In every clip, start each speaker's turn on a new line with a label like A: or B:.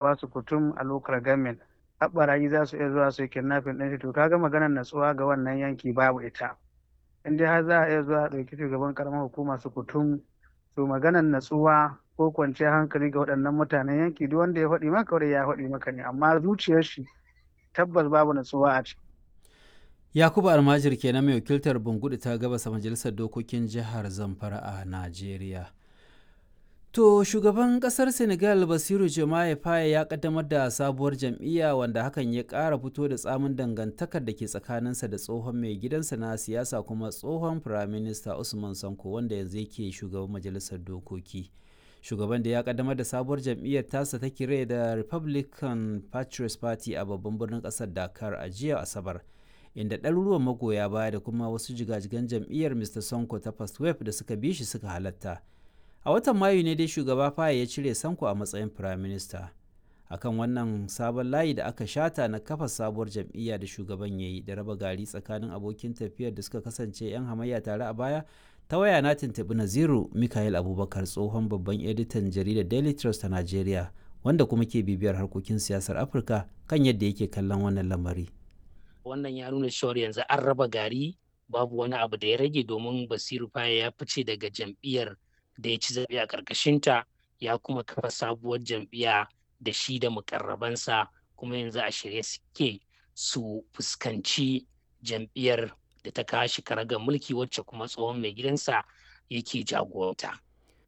A: Su kutum a local government har ɓarayi za su iya zuwa su yi kidnapping ɗin shi. To kaga maganar natsuwa ga wannan yanki babu ita. In dai har za a iya zuwa a ɗauki shugaban karamar hukuma su kutum, to maganar natsuwa ko kwanciyar hankali ga waɗannan mutanen yanki, duk wanda ya faɗi maka kawai ya faɗi maka ne, amma zuciyar shi tabbas babu natsuwa a ciki.
B: Yakubu Almajir kenan, mai wakiltar Bungudu ta gabasa majalisar dokokin jihar Zamfara a Najeriya. To shugaban kasar Senegal Basiru Diomaye Faye ya kaddamar da sabuwar jam'iyya, wanda hakan ya ƙara fito da tsamin dangantakar da ke tsakaninsa da tsohon mai gidansa na siyasa kuma tsohon firaminista Usman Sanko, wanda yanzu yake shugaban majalisar dokoki. Shugaban da ya kaddamar da sabuwar jam'iyyar tasa ta kire da Republican Patriots Party a babban birnin kasar Dakar a jiya Asabar, inda ɗaruruwan magoya baya da kuma wasu jigajigan jam'iyyar Mr. Sonko ta First Wave da suka bi shi suka halatta. A watan Mayu ne dai shugaba Faye ya cire Sanko a matsayin firaminista. Akan wannan sabon layi da aka shata na kafa sabuwar jam'iyya da shugaban ya yi da raba gari tsakanin abokin tafiyar da suka kasance 'yan hamayya tare a baya, ta waya na tuntuɓi Naziru Mikael Abubakar, tsohon babban editan jaridar Daily Trust ta Najeriya, wanda kuma ke bibiyar harkokin siyasar Afirka, kan yadda yake kallon wannan lamari.
C: Wannan ya nuna cewar yanzu an raba gari, babu wani abu da ya rage, domin Basiru Faye ya fice daga jam'iyyar da ya ci zaɓe a ƙarƙashinta, ya kuma kafa sabuwar jam'iyya da shi da mukarrabansa, kuma yanzu a shirye suke su fuskanci jam'iyyar da ta kawo shi karagar mulki, wacce kuma tsohon mai gidansa yake jagoranta.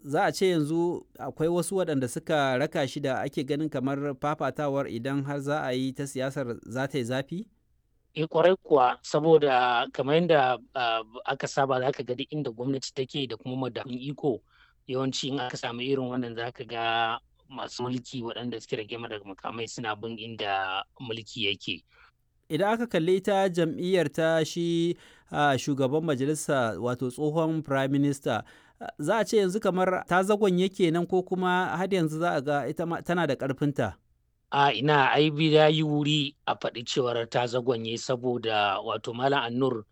B: Za a ce yanzu akwai wasu waɗanda suka raka shi da ake ganin kamar fafatawar, idan har za a yi ta siyasar, za ta yi zafi?
C: Eh, kwarai kuwa, saboda kamar yadda aka saba, za ka ga duk inda gwamnati take da kuma madafun iko, yawanci in aka samu irin wannan, za ka ga masu mulki waɗanda suke rage daga makamai suna bin inda mulki yake.
B: Idan aka kalli ita jam'iyyar ta shi shugaban majalisa, wato tsohon prime minister, za a ce yanzu kamar ta zagon yake nan, ko kuma har yanzu za a ga ita tana da ƙarfinta?
C: A ina, ai ya yi wuri a faɗi cewar ta zagonye, saboda wato Malam Annur,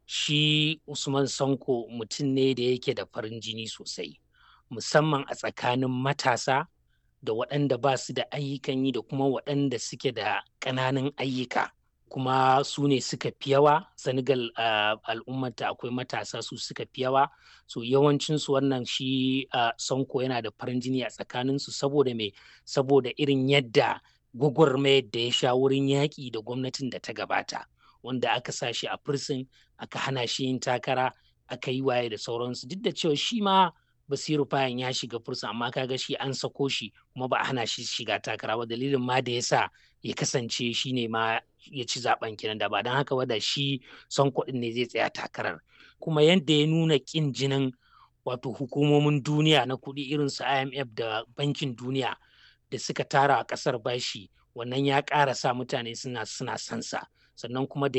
C: shi Usman Sanko mutum ne da yake da farin jini sosai, musamman a tsakanin matasa da waɗanda ba su da ayyukan yi da kuma waɗanda suke da ƙananan ayyuka, kuma su ne suka fi yawa Senegal. Al'ummata akwai matasa, su suka fi yawa. So yawancinsu wannan shi Sanko yana da farin jini a tsakaninsu. Saboda me? Saboda irin yadda gwagwarmayar da ya sha wurin yaƙi da gwamnatin da ta gabata, wanda aka sa shi a prison, aka hana shi yin takara, aka yi waye da sauransu, duk da cewa shi ma Basiru Fayan ya shiga fursa, amma kaga shi an sako shi kuma ba a hana shi shiga takara ba. Dalilin ma da yasa ya kasance shi ne ma ya ci zaben kenan. Da ba don haka ba, da shi son kuɗin ne zai tsaya takarar. Kuma yadda ya nuna ƙin jinin wato hukumomin duniya na kuɗi irin su IMF da Bankin Duniya da suka tara a ƙasar bashi, wannan ya ƙara sa mutane suna sansa. Sannan kuma da